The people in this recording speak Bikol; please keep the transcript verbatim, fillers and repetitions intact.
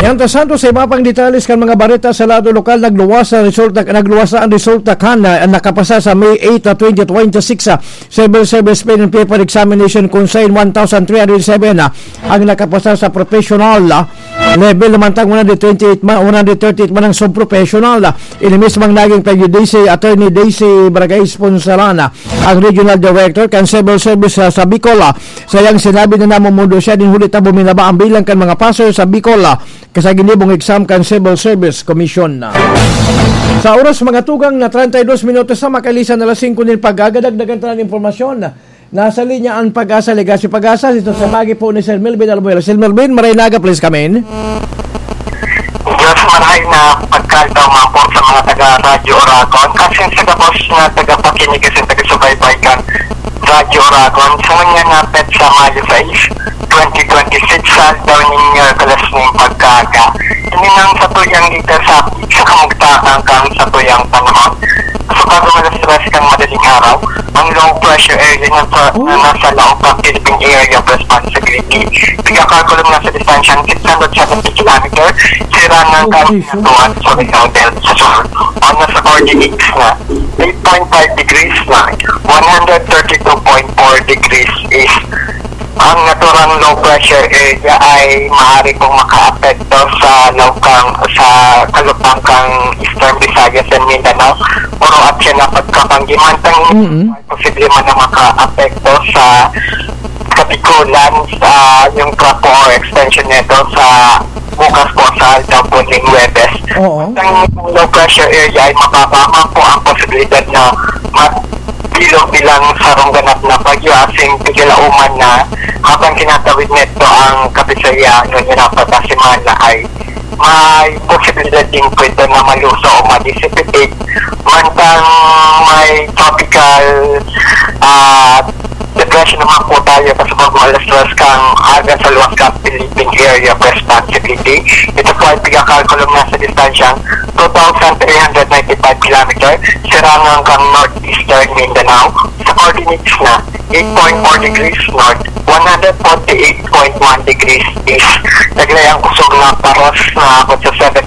Yan ta Santos, sa iba pang detalles kan mga bareta sa lado lokal, nagluwas ang resulta, nagluwas na ang resulta kan, ah, nakapasa sa May eight, ah, twenty twenty-six, ah, Civil Service Pen and Paper Examination, kung saan one thousand three hundred seven, ah, ang nakapasa sa professional, ah, level, namantang one hundred twenty-eight man, one hundred thirty-eight man ang sub-professional, ah. Ini mismong naging pagdidisi, Attorney Daisy Bragais Ponsalana, ang Regional Director kan Civil Service, ah, sa Bicol, ah. Sayang sinabi na namumundo siya, din huli ta buminaba ang bilang kan mga paso sa Bicol, ah, sa ginibong exam kan Civil Service Commission. Sa oras, mga tugang, na treinta y dos minutos na makalisan na alas singko nin pagkagadag, dagan tanan impormasyon. Nasa linya ang Pag-asa, Legacio Pag-asa. Ito sa bagi po ni Sir Melvin Albuera. Sir Melvin, maray naga, please come in. Diyos, marahay na pagkadto man po sa mga taga Radyo Oragon. Kasi sa gabos na tagapakinig kasi taga-subaybay kan Radyo Oragon, sa mga napet sa Mayo sais, twenty twenty-six, sa daw ninyo kalas ning pagkaga. Ini nang sa tuyang dito sa, sa kamugtakan kang sa tuyang panahon. Sa pagkamalas-las kang madaling araw, ang low pressure area na sa, Oh. na nasa laog ng Philippine Area of Responsibility, pigkakalkulong na sa distansyang six hundred seventy kilometer, sirangan Oh, kan Jesus. Pinatuan sa Oriental sa Sur, o nasa coordinates na eight point five degrees north, one hundred thirty-two point four degrees east. Ang naturang low pressure area ay maaari pong makaapekto sa laog kang, sa kalupang kang Eastern Visayas and Mindanao. Puro at siya na pagkabanggi, mantang Mm. posible man na makaapekto sa Kabikulan, sa yung trapo or extension nito sa bukas po sa aldaw po ng Huwebes. Oo. Ang low pressure area ay mababa man po ang posibilidad na magbilog bilang sarong ganap na bagyo, asin pigilauman na habang kinatawid nito ang Kabisayan, ngunyan na pagkasimana ay may posibilidad din po ito na maluso o ma-dissipate. Mantang may tropical, ah, depression naman po tayo, kasabag malaslas kang aga sa luwas kang Philippine Area of Responsibility. Ito po ay pigkakalkulong na sa distansyang two thousand three hundred ninety-five kilometer, sirangan kang northeastern Mindanao. Sa coordinates na eight point four degrees north, one hundred forty-eight point one degrees east. Taglay ang kusog na paros na abot sa seven